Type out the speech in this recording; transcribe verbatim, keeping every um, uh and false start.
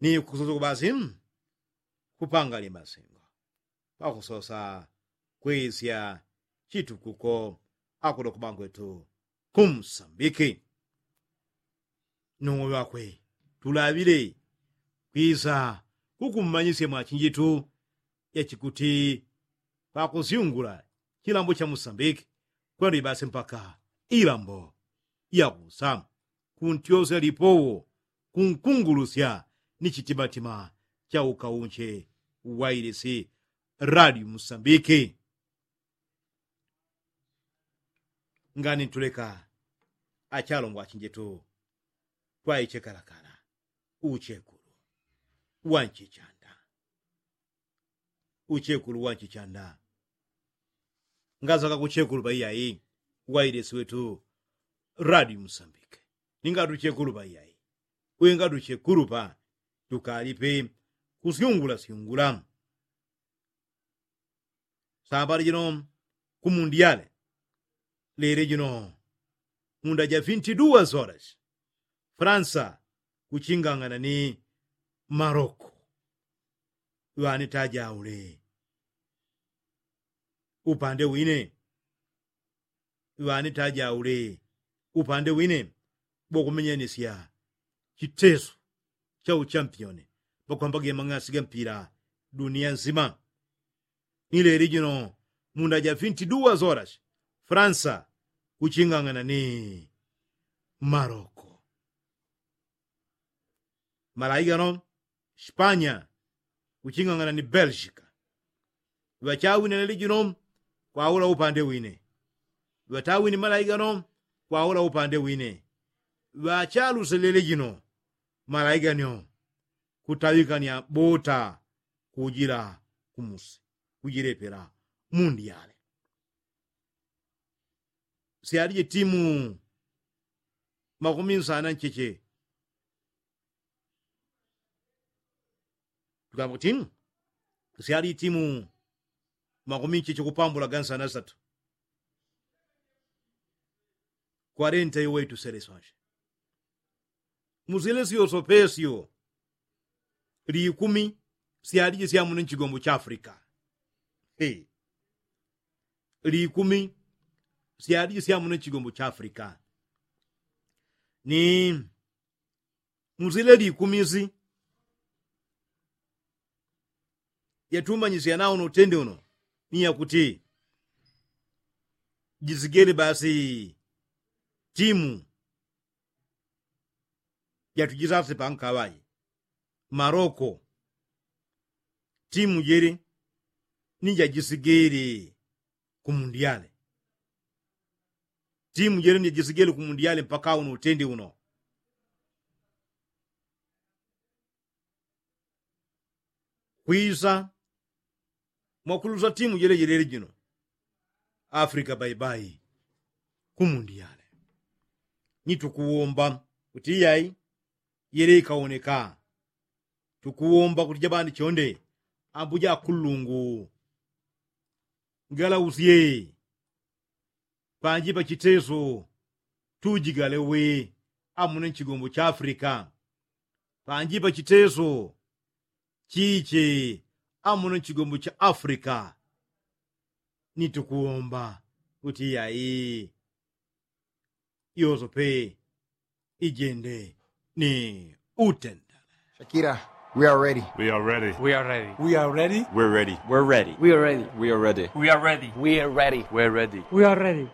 ni kusosa kubasi kupanga limasingo pakusosa kwisya chitukuko akuno kubangwetu kumsambiki. Nung'o ŵakwe tulaŵile kwisa kukummanyisya mwachinjitu yachikuti pakusyungula chilambo cha musambiki kwendo ibasi mpaka ilambo yakusa kuntyosya lipowo kunkungulusya ni chitimatima cha ukaunche wailisi radio musambiki. Ngani ntuleka achalongwa achinjetu twaichekalakala uchekulu wanchichanda. Uchekulu wanchichanda ngazaka kuchekulu paiyai wailisi wetu radio musambiki. Ningatuchekulu paiyai wingatuchekulu pa tukalipe kusyungula syungula. Sambali jino kumundiale lele jino munda ja vinti duwa solas fransa kuchingang'ana ni maroko. Ŵani tajaule upande wine ŵani tajaule upande wine bokumenyanisya chiteso cha uchampioni pakwambaga mang'asi ga mpila dunia nzima. Ni leli jino munda ja vinti duwa solas fransa kuching'ang'ana ni maroko. Malaigano spanya kuching'ang'ana ni belgika. Ŵachawine leli jino kwaula upande wine. Ŵatawine malaigano kwaula upande wine. Ŵachaluselele jino malaiganyo kutaŵikania bota kujila kumusi kujilepela mundiale. Syalije timu makumi nsana ncheche. Tukamba kuti syalije timu makumi ncheche kupambula gansana satu. Kwarenta iwe ituseleswanshe musile syoso pesyo likumi syalije syamuno nchigombo cha afrika. Likumi syalije syamuno nchigombo cha afrika. Ni musile likumi si yatumanyisya nauno utende uno ni yakuti jisigele basi timu jatujisase pankaŵaje maroko. Timu jele ni jajisigele kumundiale. Timu jele ni jajisigele kumundiale mpaka uno utende uno. Kwisa mwakulusa timu jele jelele jino afrika baibai. Kumundiale ni tukuwomba kuti iyai yele ikawoneka. Tukuwomba kuti jabandi chonde ambuja akulungu ngalausye panji pachiteso tujigale we amuno nchigombo cha afrika. Panji pachiteso chiche amuno nchigombo cha afrika. Ni tukuwomba kuti iyai yoso pe ijende ni utenda. Shakira, we are ready. We are ready. We are ready. We are ready. We are ready. We are ready. We are ready. We are ready. We are ready. We are ready. We are ready. We are ready. We are ready.